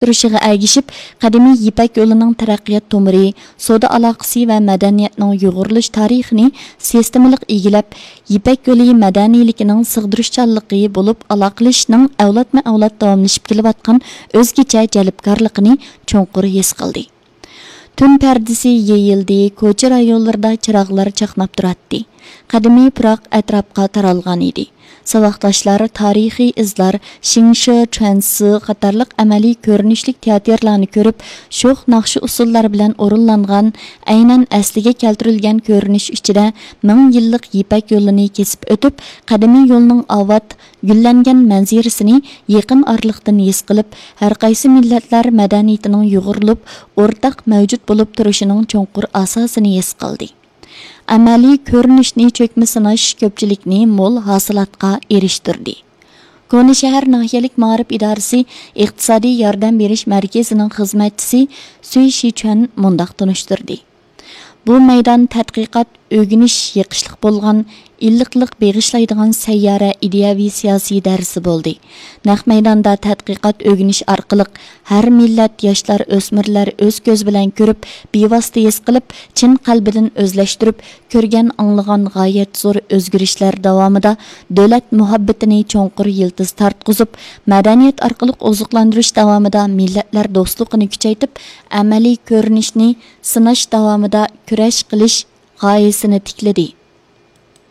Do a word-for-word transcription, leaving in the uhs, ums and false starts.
تۇرۇشىغا ئەگىشىپ، قەدىمىي يىپەك يولىنىڭ تەرەققىيات تومۇرى، سودا ئالاقىسى ۋە مەدەنىيەتنىڭ يۇغۇرۇلۇش تارىخىنى سىستېمىلىق ئىگىلەپ، يىپەك يولى مەدەنىيلىكىنىڭ سىغدۇرۇشچانلىقى بولۇپ، ئالاقىلىشىشنىڭ ئەۋلادمۇ ئەۋلاد داۋاملىشىپ كېلىۋاتقان ئۆزگىچە جەلپكارلىقىنى چوڭقۇر ھېس قىلدى. تۈن پەردىسى يېيىلدى، كوچا رايونلىرىدا چىراغلار چاقناپ تۇراتتى. قەدىمىي پۇراق ئەتراپقا تارالغان ئىدى. ساۋاقداشلار تارىخىي ئىزلار، شىڭشې چۈەنسى قاتارلىق ئەمەلىي كۆرۈنۈشلۈك تىياتىرلارنى كۆرۈپ، شوخ ناخشا ئۇسسۇللار بىلەن ئورۇنلانغان، ئەينەن ئەسلىگە كەلتۈرۈلگەن كۆرۈنۈش ئىچىدە مىڭ يىللىق يىپەك يولىنى كېسىپ ئۆتۈپ، قەدىمىي يولنىڭ ئاۋات، گۈللەنگەن مەنزىرىسىنى يېقىن ئارىلىقتىن ھېس قىلىپ، ھەرقايسى مىللەتلەر مەدەنىيىتىنىڭ يۇغۇرۇلۇپ، ئورتاق مەۋجۇت بولۇپ تۇرۇشىنىڭ چوڭقۇر ئاساسىنى ھېس قىلدى. ئەمەلىي كۆرۈنۈشنى چۆكمە سىناش كۆپچىلىكنى مول ھاسىلاتقا ئېرىشتۈردى. كونا شەھەر ناھىيەلىك مائارىپ ئىدارىسى ئىقتىسادىي ياردەم بېرىش مەركىزىنىڭ خىزمەتچىسى سۈي شىچۈەن مۇنداق تونۇشتۇردى: بۇ مەيدان تەتقىقات، ئۆگىنىش، يېقىشلىق بولغان، ئىللىقلىق بېغىشلايدىغان سەييارە ئىدىيەۋى سىياسىي دەرسى بولدى. نەق مەيداندا تەتقىقات، ئۆگىنىش ئارقىلىق ھەر مىللەت ياشلار، ئۆسمۈرلەر ئۆز كۆزى بىلەن كۆرۈپ، بىۋاسىتە ھېس قىلىپ، چىن قەلبىدىن ئۆزلەشتۈرۈپ، كۆرگەن، ئاڭلىغان غايەت زور ئۆزگىرىشلەر داۋامىدا دۆلەت مۇھەببىتىنى چوڭقۇر يىلتىز تارتقۇزۇپ، مەدەنىيەت ئارقىلىق ئوزۇقلاندۇرۇش داۋامىدا مىللەتلەر دوستلۇقىنى كۈچەيتىپ، ئەمەلىي كۆرۈنۈشنى سىناش داۋامىدا كۈرەش قىلىش غايىسىنى تىكلىدى.